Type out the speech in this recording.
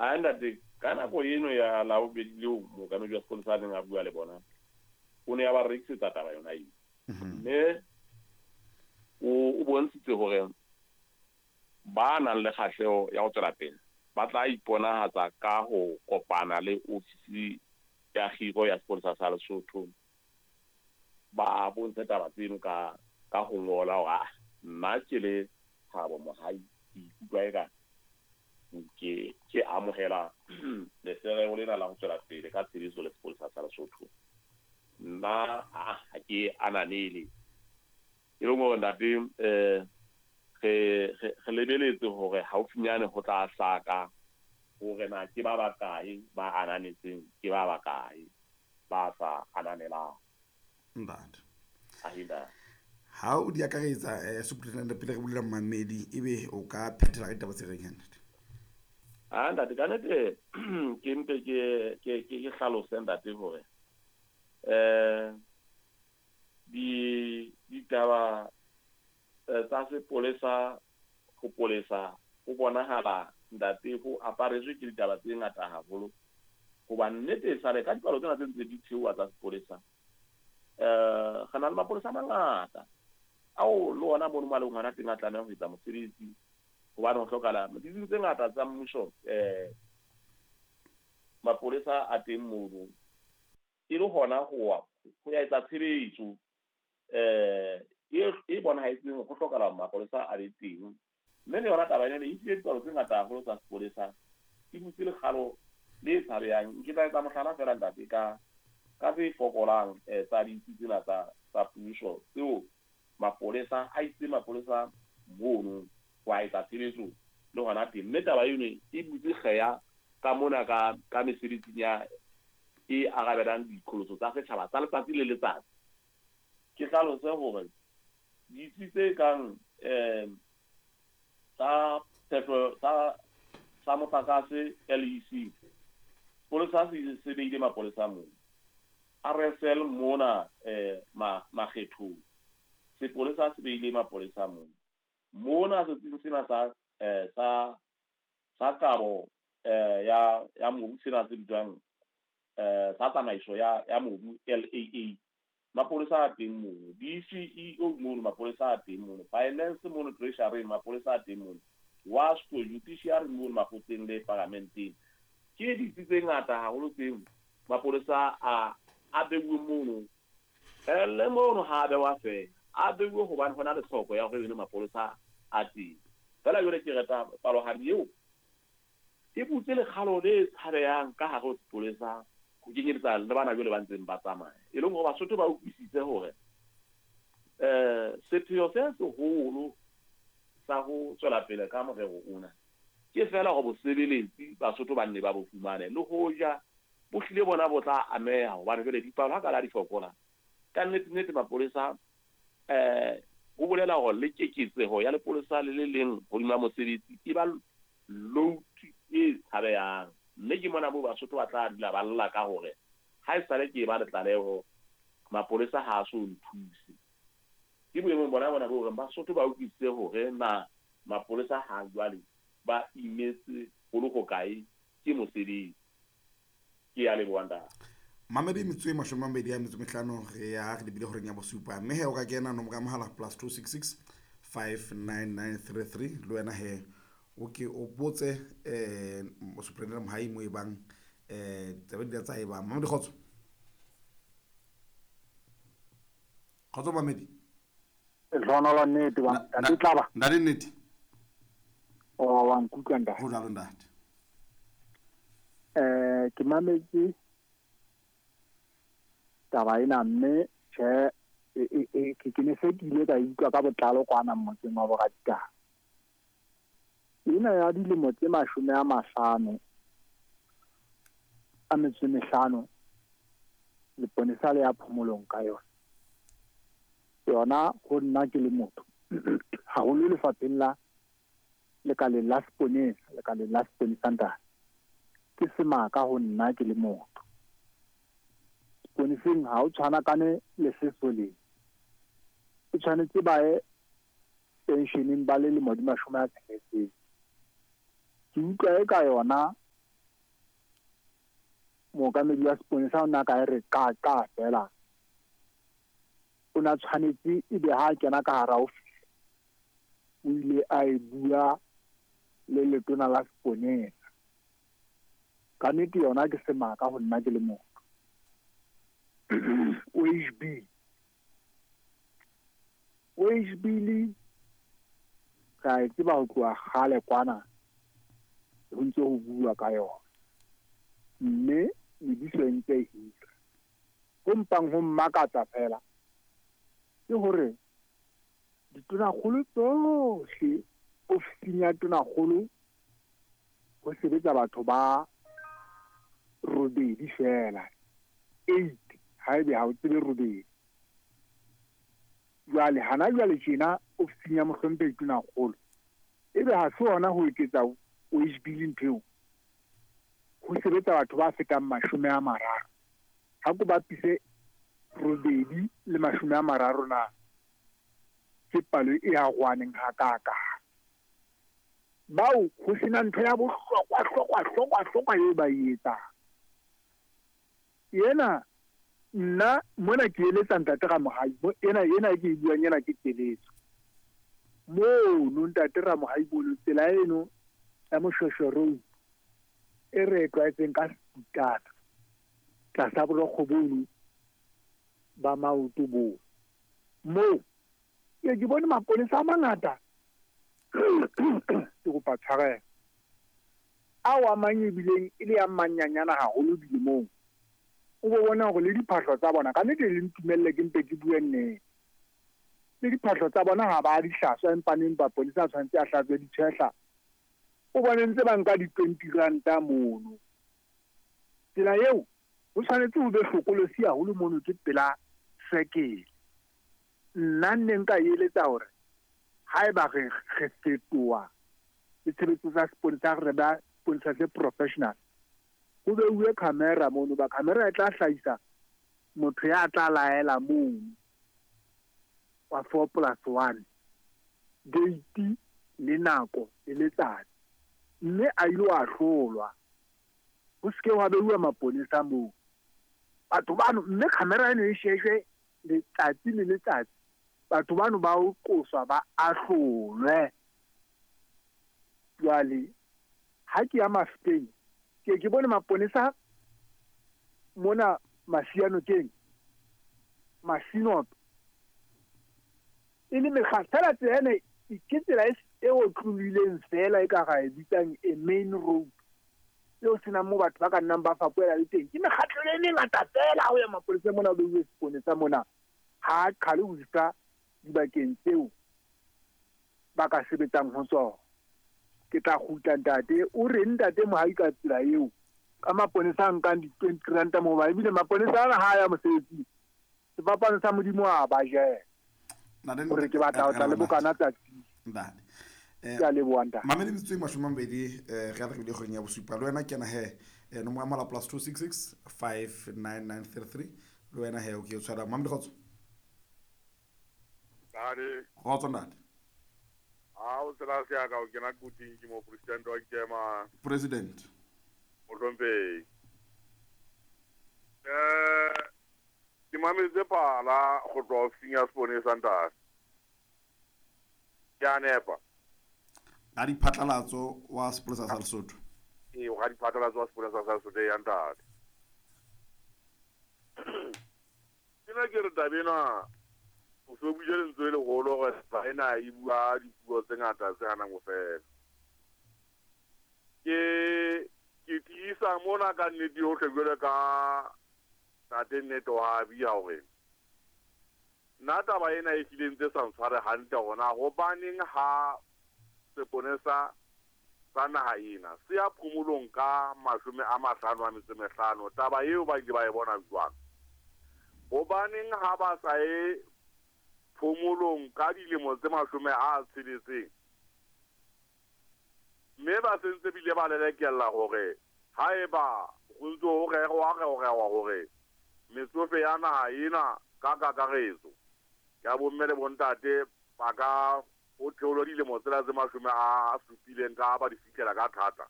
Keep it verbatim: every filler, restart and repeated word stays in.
A ntate, ka nako eno ya Labobedi leo mookamedi wa sepolesa a neng a bua le bona, o ne a ba rekisetsa taba yona eo. Mme o o bontshitse hore ba nang le kgahleho ya ho tswela pele ba tla iponahatsa ka ho kopana le ofisi ya kgiro ya sepolesa sa Lesotho, ba bontshe taba tseno ka ka ho ngola hore ah nna ke le Thabo Mohai ke ikutlwa eka ke ke amohela lefereho lena la ho tswela pele ka tshebetso le sepolesa sa Lesotho. Nna ah ha ke ananele. E leng hore ntate eh re re lebeletse hore haufinyane ho tla hlaka hore na ke ba bakae ba ananetseng, ke ba bakae ba sa ananelang. Ntate. Ahida. Ha o di akaretsa eh superintendent pele re bulela mmamedi ebe o ka phethela ka ditaba tse reng ntate? Ah ntate, ka nnete ke mpe ke ke ke ke hlalose ntate hore eh di ditaba tsa sepolesa ho polesa ho bonahala ntate ho aparetswe ke ditaba tse ngata haholo. Hoba nnete e sale ka dipalo tsena tse ntse di theoha tsa sepolesa, eh re na le mapolesa a mangata ao le ona mono maleng hona teng a tlameha ho etsa mosebetsi, hobane ho hlokahala ditsing tse ngata tsa mmuso. Eh mapolesa a teng mono e le hona ho ho ya etsa tshebetso eh e bonahetseng ho hlokahala mapolesa a be teng. Mme le yona taba ena e tlile dipalo tse ngata haholo tsa sepolesa e butse lekgalo le tshabehang. Ke tla etsa mohlala feela ntate ka ka tse fokolang tsa ditsi tsena tsa tsa puso tseo mapolesa a itse mapolesa mono ho a etsa tshebetso le hona teng. Mme taba eno e butse kgeya ka mona ka ka mesebetsing ya e arabelang diqholotso tsa setjhaba tsa letsatsi le letsatsi. Ke hlalose hore ditsi tse kang eh tsa phehlo tsa tsa motlakase L E C, sepolesa se se beile mapolesa moo. R S L mona eh makgethong, sepolesa se beile mapolesa moo. Mona setsing sena sa eh sa sa kabo eh ya ya mobu sena se bitswang eh sa tsamaiso ya ya mobu L A A, mapolesa a teng mono. D C E O mono mapolesa a teng mono. Finance mono, Treasury mapolesa a teng mono. WASCO, Judiciary mono makgotleng le paramenteng. Ke ditsi tse ngata haholo tseo mapolesa a a beuwe mono. Eh le mono ha a bewa feela, a beuwe hobane hona le tlhoko ya hore mapolesa a teng. Feela jwale ke reta palohadi eo e butse lekgalo le tshabehang ka hare ho sepolesa ho kenyeletsa le bana jwale ba ntseng ba tsamaya. E leng hore Basotho ba utlwisise hore eh sepheo se seholo sa ho tswela pele ka morero ona ke feela hore bosebeletsi Basotho ba nne ba bo fumane, le hoja bo hlile bona bo tla ameha hobane jwale dipalo ha ka la di fokola. Ka nnete nnete mapolesa eh ho bolela hore le keketseho ya lepolesa le le leng hodima mosebetsi e ba load e tshabehang. Mme ke mona moo Basotho ba tla dula ba lla ka hore ha esale ke ba le tlaleho mapolesa ha a so nthuse. Ke boemong bona bona bo hore Basotho ba utlwisise hore na mapolesa ha jwale ba imetse ho le hokae ke mosebetsi. Ke a leboha ntate. Mamedi metso e mashome a mabedi a metso e mehlano re ya re lebile horeng ya bosupa. Mme he o ka kena nomoro ya mohala plus two six six five nine nine three three le wena he o ke o botse eh Superintendent Mohai mo e bang eh taba di tsa e bang. Mamedi kgotso. Kgotso Mamedi. Lehlohonolo nnete ba ntate Tlaba. Ntate nnete. O wa nkutlwa ntate. Ho jwalo ntate. Eh ke mametse taba ena mme tjhe e ke ke ne se ke ile ka utlwa ka botlalo kwana motseng wa Boraditaba. Ena ya dilemo tse mashome a mahlano a metso e mehlano leponesa le ya phomolong ka yona. Yona ho nna ke le motho haholo lefapheng la lekaleng la seponesa, lekaleng la seponesa ntate. Ke semaka ho nna ke le motho. Seponeseng ha o tshwanakane le sesoleng. O tshwanetse ba ye pensioneng ba le lemo di mashome a tsheletseng. Ke utlwa e ka yona Mookamedi wa seponesa o na ka re ka ka fela. O na tshwanetse ebe ha kena ka hara office. O ile a e bua le letona la seponesa. Ka nnete yona ke semaka ho nna ke le motho. O H B. O H B le ka e tseba ho tloha kgale kwana ho ntse ho bua ka yona. Mme mebuso e ntse e hira. Ho mpang ho mmakatsa fela ke hore ditonakgolo tsohle ofising ya tonakgolo ho sebetsa batho ba robedi fela, eight haebe ha o tsebe robedi. Jwale hana jwale tjena ofising ya mohlomphehi tonakgolo ebe ha se hona ho eketsa O H B le ntho eo, ho sebetsa batho ba fetang mashome a mararo. Ha ko bapise robedi le mashome a mararo na ke palo e arohaneng hakaka. Bao ho sena ntho ya bohlokwa hlokwa hlokwa hlokwa eo ba e etsang. Ena nna mona ke eletsa ntate Ramohai, ena ena ke e buang ena ke keletso. Mono ntate Ramohai bono tsela eno ya Moshweshwe Road e re e tlwaetseng ka seputana tlasa borokgo bono ba maoto bo. Moo ke ke bone maponesa a mangata ke kopa tshwarelo ao a mang ebileng e le a manyanyana haholo dilemong. O bo bona hore le diphahlo tsa bona ka nnete le ntumelle ke mpe ke bue nnete. Le diphahlo tsa bona ha ba di hlaswa empa neng maponesa a tshwanetse a hlatswe ditshehla. O bone ntse ba nka di-twenty ranta mono. Tsela eo ho tshwanetse ho be hlokolosi haholo mono ke pela sekele. Nna nne nka eletsa hore haeba re re fetoha le tshebetso tsa seponesa re ba seponesa se professional, ho beuwe camera mono ba camera e tla hlahisa motho ya tla laela mono wa four plus one date le nako le letsatsi, mme a ile a hlolwa. Ho se ke wa beuwa maponesa moo batho bano, mme camera eno e shejwe letsatsi le letsatsi. Batho bano ba o qoswa ba ahlolwe. Jwale ha ke ya Mafeteng ke ke bone maponesa mona Masianokeng Masinoto e le mekgatlo fela tsela ena ke tsela e otlolohileng fela e ka ra e bitsang a main road eo senang moo batho ba ka nnang ba fapohela le teng. Ke mekgatlo e mengata fela ho ya maponesa mona o beuwe seponesa mona ha a qhale ho fihla dibakeng tseo ba ka sebetsang ho tsona. Ke tla kgutla ntate o re ntate Mohai ka tsela eo ka maponesa a nkang di-twenty ranta moo ba ebile maponesa ana ha ya mosebetsing sefapano sa Modimo a ba jela. Hore ke batla ho tla le bokana tsatsi. Ntate. Ke a leboha ntate. Mamedi metsotso e mashome a mabedi eh re a re kgweding ya bosupa le wena kena he nomoro ya mohala plus two six six five nine nine three three le wena he o ke o tshwara Mamedi kgotso. Ntate. Kgotso ntate. Ha o tsela se ya ka o kena kuting ke mo president wa Nkema. President. Mohlomphehi. Eh ke mametse phala go tloha ofising ya seponesa ntate. Ke a nepa. Ga diphatlalatso wa sepolesa sa Lesotho. Ee, ga diphatlalatso wa sepolesa sa Lesotho ya ntate. Ke na ke re taba ena o so buile lentswe le leholo hore taba ena e bua dipuo tse ngata tse hanang ho fela. Ke ke tiisa mona ka nnete yohle jwalo ka ntate Nnete wa bia hore nna taba ena e hlile ntse sa ntshware hantle hore na hobaneng ha seponesa sa naha ena se ya phomolong ka mashome a mahlano a metso e mehlano, taba eo ba ile ba e bona jwang? Hobaneng ha ba sa e phomolong ka dilemo tse mashome a tsheletseng mme ba sentse bile ba lelekella hore haeba ho ntse ho rerwa rerwa hore metsofe ya naha ena ka kakaretso ya bomme le bontate ba ka ho theolwa dilemo tsela tse mashome a supileng ka ba di fihlela ka thata.